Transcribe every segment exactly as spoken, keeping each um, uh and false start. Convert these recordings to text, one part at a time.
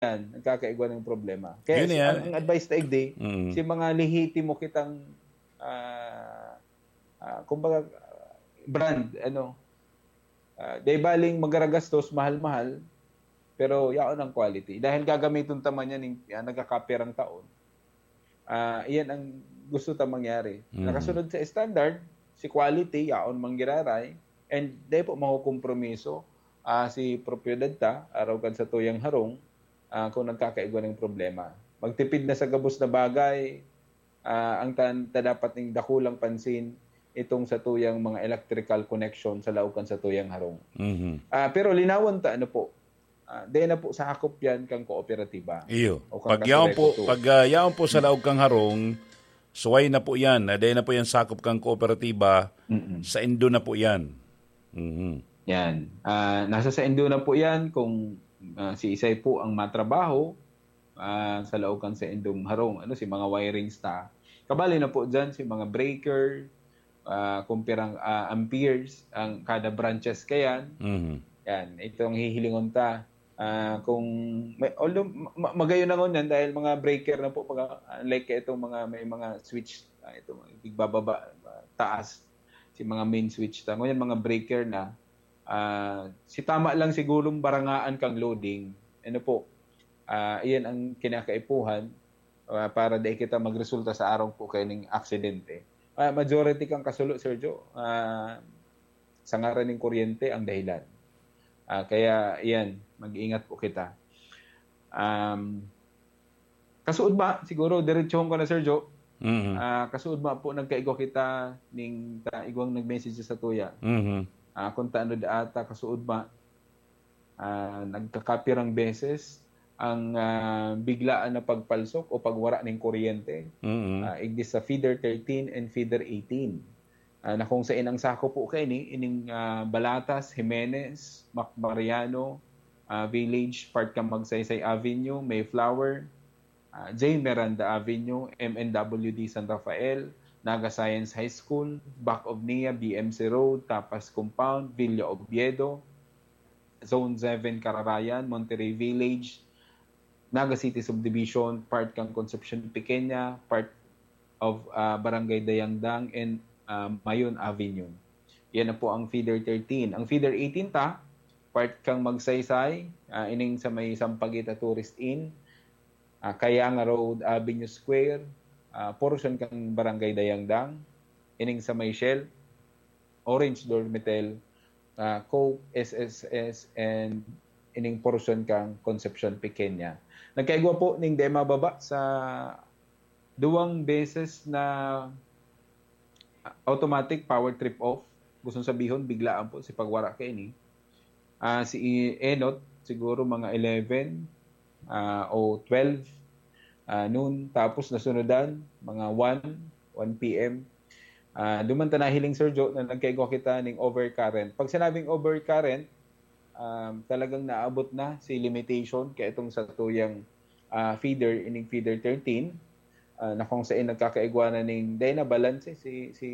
yan, nagkakaigwa ng problema. Kaya Yun si, yan. ang, ang advice ta igdi, Mm. si mga lehitimo kitang, ah, ah, kumbaga, brand, ano, ah, di baling magaragastos, mahal-mahal, pero yaon ang quality. Dahil gagamiton ta man yan, yung, yan, nagkakapirang taon. Ah, iyan ang gusto ta mangyari. Mm. Nakasunod sa standard, si quality, yaon manggiraray, and di po makukompromiso, ah, si propiedad ta, araw kan sa tuyang harong, ah, kung nagkakaigwa ng problema. Magtipid na sa gabos na bagay, ah, ang tan-, ta dapat ning dakulang pansin itong sa tuyang mga electrical connection sa laog kan sa tuyang harong. Mhm. Ah, pero linawan ta, ano po, ah, di na po sakop yan kang kooperatiba. Iyo. O kang Pag yaon po, kasurekoto. pag, ah, yaon po sa laog kang harong, suway na po yan. Ah, di na po yan sakop kang kooperatiba. Mm-mm. Sa indo na po yan. Mhm. Yan. Ah, nasa sa indo na po yan kung, ah, si isay po ang matrabaho, ah, sa laog kan sa indong harong, ano, si mga wirings ta. Kabali na po dyan, si mga breaker, ah, kung pirang, ah, amperes ang kada branches kayan. Mhm. Yan, itong hihilingon ta. Ah, kung may, although ma-, ma-, magayon na ngunyan dahil mga breaker na po, mga, unlike itong mga, may mga switch, ah, itong igbababa, ah, taas, si mga main switch ta. Ngunyan, mga breaker na, ah, si tama lang sigurong barangaan kang loading. Ano po, ah, iyan ang kinakaipuhan, ah, para di kita magresulta sa arong po kaining aksidente. Ah, majority kang kasulo, Sir Joe, ah, sa ngaran ng kuryente ang dahilan. Ah, kaya, iyan, mag-iingat po kita. Um, kasuod ba? Siguro, diretsohon ko na, Sir Joe. Mhm. Ah, kasuod ba po, nagkaigwa kita ning ta-, igwang nag-message sa tuya. Mhm. Ah, kung taano da ata, kasuod ba? Ah, nagkakapirang beses ang, ah, biglaan na pagpalsok o pagwara ning kuryente. Mhm. Ah, igdi sa feeder thirteen and feeder eighteen. Ah, na kung sain ang sakop po kaini, ining, ah, Balatas, Jimenez, Mac Mariano, ah, Village, part kan Magsaysay Avenue, Mayflower, ah, J Miranda Avenue, M N W D San Rafael, Naga Science High School, back of N I A, B M C Road, Tapas Compound, Villa Oviedo, Zone seven Cararayan, Monterrey Village, Naga City Subdivision, part kan Concepcion Pequeña, part of, ah, Barangay Dayangdang, and, ah, Mayon Avenue. Yan na po ang feeder thirteen. Ang feeder eighteen ta, part kan Magsaysay, ah, ining sa may Sampaguita Tourist Inn, ah, Kayanga Road, Avenue Square, ah, portion kan Barangay Dayangdang, ining sa may Shell, Orange Dormitel, ah, Coke, S S S, and ining portion kan Concepcion Pequeña. Nagkaigwa po ning di mababa sa duwang beses na automatic power trip off. Gustong sabihon, biglaan po si pagwara kaini. Ah, si Enot, siguro mga eleven, ah, o twelve, ah, noon. Tapos nasunodan, mga one, one P M. Ah, duman ta nahiling, Sir Joe, na nagkaigwa kita ning overcurrent. Pag sinabing overcurrent, um, talagang naabot na si limitation kaya itong sa tuyang, ah, feeder, ining feeder thirteen, ah, na kung saan nagkakaigwa na ning, dahil na balance si, si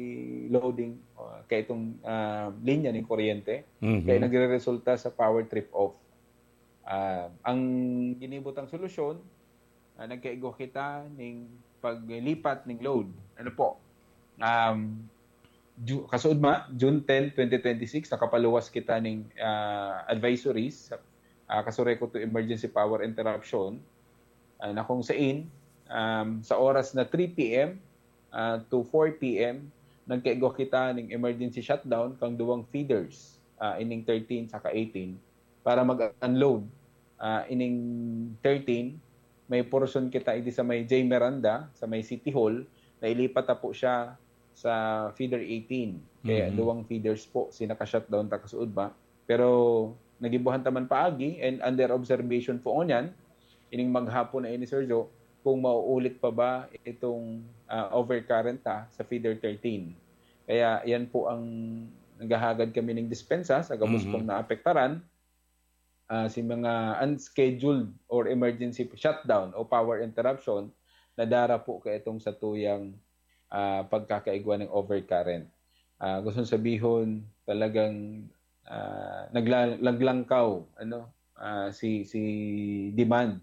loading, ah, kaya itong, ah, linya ning kuryente, Mhm. kaya nagre-resulta sa power trip off. Ah, ang ginibutang solusyon, ah, nagkaigwa kita ning paglipat ning load. Ano po? Um, Ju-, kasuod ma, June ten, twenty twenty-six, nakapaluwas kita ning, ah, advisories sa, ah, kasurekoto emergency power interruption, ah, na kung sain, um, sa oras na three P M, ah, to four P M, nagkaigwa kita ning emergency shutdown kang duwang feeders, ah, ining thirteen saka eighteen, para mag-unload. Ah, ining thirteen, may portion kita idi sa may J Miranda, sa may City Hall, na ilipat na po siya sa feeder eighteen. Kaya Mhm. duwang feeders po si naka-shutdown ta kasuod ba. Pero nagibuhan ta man paagi and under observation po ngunyan, ining maghapon na ini, Sir Joe, kung mauulit pa ba itong, ah, overcurrent ta sa feeder thirteen. Kaya yan po ang naghahagad kami ning dispensa sa gabos Mhm. pong naapektaran, ah, si mga unscheduled or emergency shutdown o power interruption na dara po kaitong sa tuyang, ah, pagkakaigwa ng overcurrent. Ah, gustong sabihon, talagang, ah, nagla-, naglangkaw, ano, ah, si, si demand